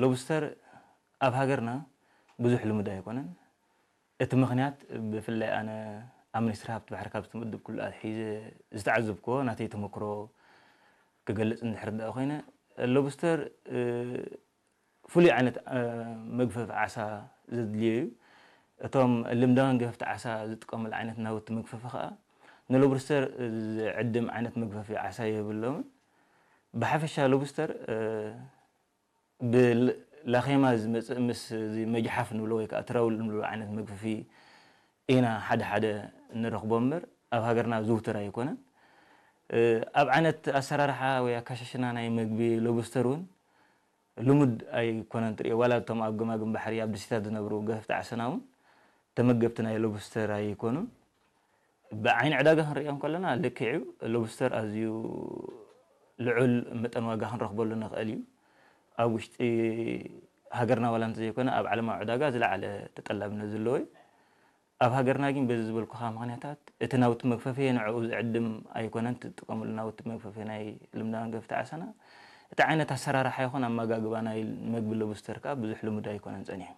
ሎብስተር ኣብ ሃገርና ብዙሕ ልሙድ ኣይኮነን። እቲ ምኽንያት ብፍላይ ኣነ ኣብ ሚኒስትሪ ሃብቲ ባሕሪ ካብ ዝተመደብኩሉ ኣትሒዘ ዝተዓዘብክዎ ናተይ ተመክሮ ክገልጽ እንድሕር ደኣ ኮይነ፣ ሎብስተር ፍሉይ ዓይነት መግፈፊ ዓሳ ዘድልዮ እዩ። እቶም ልምዳውያን ገፈፍቲ ዓሳ ዝጥቀሙሉ ዓይነት ናውቲ መግፈፊ ከኣ ንሎብስተር ዝዕድም ዓይነት መግፈፊ ዓሳ የብሎምን። ብሓፈሻ ሎብስተር ብላኼማ ዝመፅእ ምስ እዚ መጅሓፍ ንብሎ ወይ ከዓ ትራውል ንብሎ ዓይነት መግፍፊ ኢና ሓደ ሓደ ንረኽቦ እምበር ኣብ ሃገርና ዝውትር ኣይኮነን። ኣብ ዓይነት ኣሰራርሓ ወይ ኣካሻሽና ናይ መግቢ ሎብስተር እውን ልሙድ ኣይኮነን ትሪኦ። ዋላ እቶም ኣብ ገማግም ባሕሪ ኣብ ደሴታት ዝነብሩ ገፈፍቲ ዓሰና እውን ተመገብቲ ናይ ሎብስተር ኣይኮኑን። ብዓይኒ ዕዳጋ ክንሪኦ እንከለና ልክዕ እዩ። ሎብስተር ኣዝዩ ልዑል መጠን ዋጋ ክንረኽበሉ ንኽእል እዩ። ኣብ ውሽጢ ሃገርና ዋላ እንተዘይኮነ ኣብ ዓለማዊ ዕዳጋ ዝለዓለ ተጠላብነት ዘለዎ እዩ። ኣብ ሃገርና ግን በዚ ዝበልኩኻ ምኽንያታት እቲ ናውቲ መግፈፊ ንዕኡ ዝዕድም ኣይኮነን። ትጥቀመሉ ናውቲ መግፈፊ ናይ ልምዳን ገፍቲ ዓሰና እቲ ዓይነት ኣሰራርሓ ይኹን ኣመጋግባ ናይ መግቢ ሎብስተር ከዓ ብዙሕ ልሙድ ኣይኮነን ጸኒሑ።